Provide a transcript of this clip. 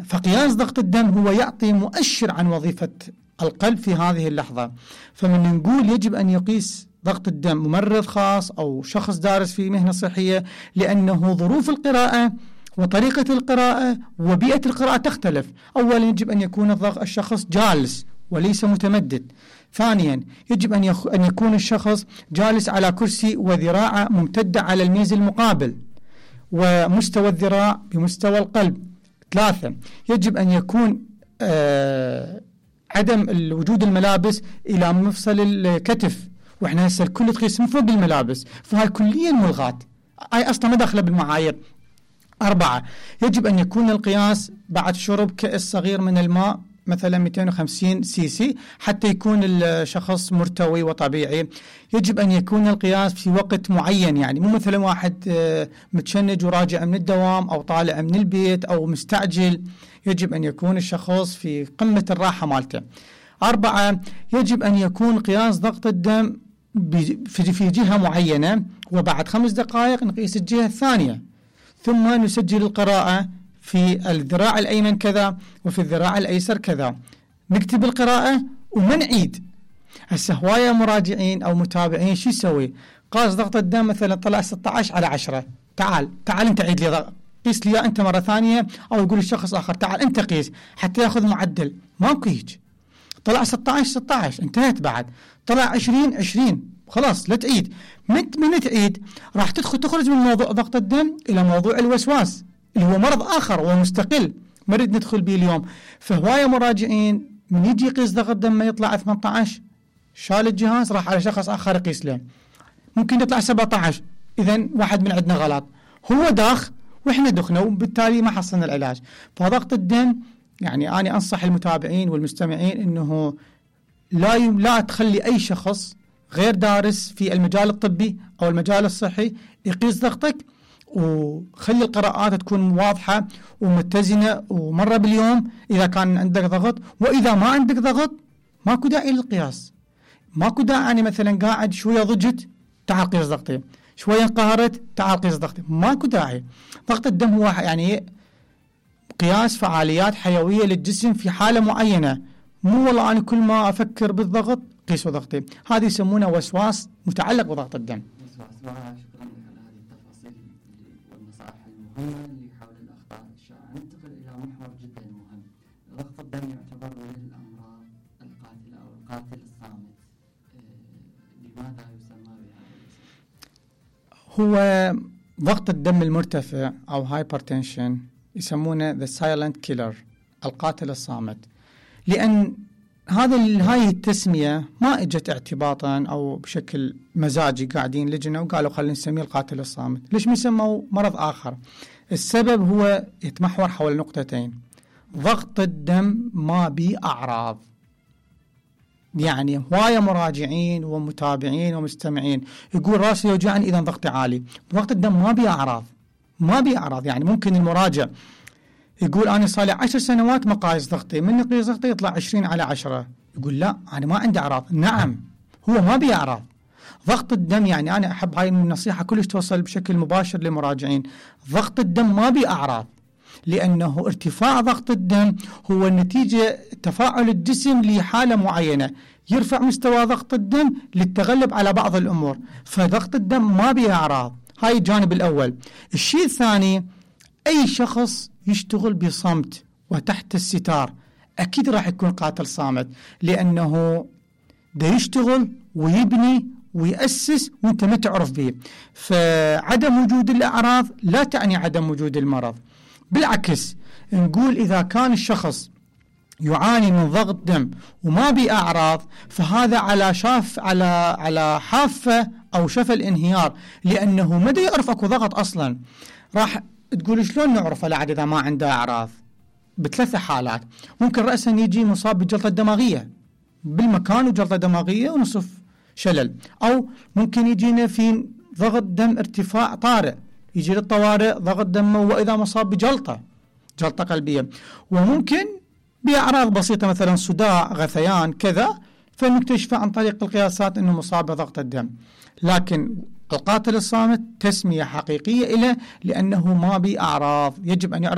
فقياس ضغط الدم هو يعطي مؤشر عن وظيفة القلب في هذه اللحظة. فمن نقول يجب أن يقيس ضغط الدم ممرض خاص أو شخص دارس في مهنة صحية، لأنه ظروف القراءة وطريقة القراءة وبيئة القراءة تختلف. أولا يجب أن يكون الشخص جالس وليس متمدد. ثانيا يجب أن يكون الشخص جالس على كرسي وذراعه ممتدة على الميز المقابل ومستوى الذراع بمستوى القلب. ثلاثة يجب أن يكون عدم وجود الملابس إلى مفصل الكتف، وإحنا هسه الكل تقيس من فوق الملابس، فهاي كليا ملغاة، هاي أصلا ما داخلة بالمعايير. 4 يجب أن يكون القياس بعد شرب كأس صغير من الماء مثلا 250 سي حتى يكون الشخص مرتوي وطبيعي. يجب أن يكون القياس في وقت معين، يعني مو مثلا واحد متشنج وراجع من الدوام أو طالع من البيت أو مستعجل، يجب أن يكون الشخص في قمة الراحة مالته. 4 يجب أن يكون قياس ضغط الدم في جهة معينة، وبعد 5 دقائق نقيس الجهة الثانية، ثم نسجل القراءة في الذراع الأيمن كذا وفي الذراع الأيسر كذا، نكتب القراءة وما نعيد. هسه هواية مراجعين أو متابعين شو يسوي؟ قاس ضغط الدم مثلا طلع 16/10، تعال انت عيد لي قيس لي أنت مرة ثانية، أو يقول الشخص آخر تعال أنت قيس حتى يأخذ معدل. ماكو هيك، طلع 16 انتهت، بعد طلع 20 خلاص لا تعيد. من تعيد راح تخرج من موضوع ضغط الدم إلى موضوع الوسواس اللي هو مرض آخر ومستقل ما نريد ندخل به اليوم. فهواية مراجعين من يجي يقيس ضغط الدم ما يطلع 18، شال الجهاز راح على شخص آخر يقيس له، ممكن يطلع 17. إذن واحد من عندنا غلط، هو داخ وإحنا دخنا وبالتالي ما حصلنا العلاج. فضغط الدم يعني أنا أنصح المتابعين والمستمعين إنه لا تخلي أي شخص غير دارس في المجال الطبي أو المجال الصحي يقيس ضغطك، وخلي القراءات تكون واضحة ومتزنة ومرة باليوم إذا كان عندك ضغط. وإذا ما عندك ضغط ماكو داعي للقياس، ماكو داعي. يعني مثلا قاعد شوية ضجت تعال قيس ضغطي، شوية انقهرت تعال قيس ضغطي، ماكو داعي. ضغط الدم هو يعني قياس فعاليات حيوية للجسم في حالة معينة، مو والله أنا كل ما أفكر بالضغط قيسوا ضغطي. هذه يسمونه وسواس متعلق بضغط الدم. شكرا على هذه التفاصيل والنصائح المهمة اللي حول الأخطاء الشائعة. ننتقل إلى محور جدا مهم. ضغط الدم يعتبر من الأمراض القاتلة أو القاتل الصامت، لماذا يسمى بهذا الاسم؟ هو ضغط الدم المرتفع أو هايبرتنشن يسمونه the silent killer، القاتل الصامت، لأن هاي التسمية ما اجت اعتباطا أو بشكل مزاجي، قاعدين لجنة وقالوا خلينا نسميه القاتل الصامت. ليش يسموا مرض آخر؟ السبب هو يتمحور حول نقطتين. ضغط الدم ما بيه أعراض، يعني هواية مراجعين ومتابعين ومستمعين يقول راسي يوجعني إذا ضغطي عالي. ضغط الدم ما بيه أعراض، يعني ممكن المراجع يقول أنا صار لي 10 سنوات مقايس ضغطي، من قيس ضغطي يطلع 20/10، يقول لا أنا ما عندي أعراض. نعم هو ما بيه أعراض. ضغط الدم يعني أنا أحب هاي النصيحة كلش توصل بشكل مباشر للمراجعين. ضغط الدم ما بيه أعراض، لأنه ارتفاع ضغط الدم هو نتيجة تفاعل الجسم لحالة معينة، يرفع مستوى ضغط الدم للتغلب على بعض الأمور. فضغط الدم ما بيه أعراض، هاي الجانب الأول. الشيء الثاني، أي شخص يشتغل بصمت وتحت الستار أكيد راح يكون قاتل صامت، لأنه دا يشتغل ويبني ويأسس وانت ما تعرف به. فعدم وجود الأعراض لا تعني عدم وجود المرض، بالعكس نقول إذا كان الشخص يعاني من ضغط دم وما بأعراض فهذا على حافة أو شفى الانهيار، لأنه ما يعرف أكو ضغط أصلا. راح تقول شلون نعرف العاد إذا ما عنده أعراض؟ بثلاث حالات. ممكن رأسا يجي مصاب بجلطة دماغية بالمكان وجلطة دماغية ونصف شلل، أو ممكن يجينا في ضغط دم ارتفاع طارئ يجي للطوارئ ضغط دمه وإذا مصاب بجلطة قلبية، وممكن بأعراض بسيطة مثلا صداع غثيان كذا، فنكتشف عن طريق القياسات أنه مصاب بضغط الدم. لكن القاتل الصامت تسمية حقيقية له لأنه ما بأعراض، يجب أن يعرف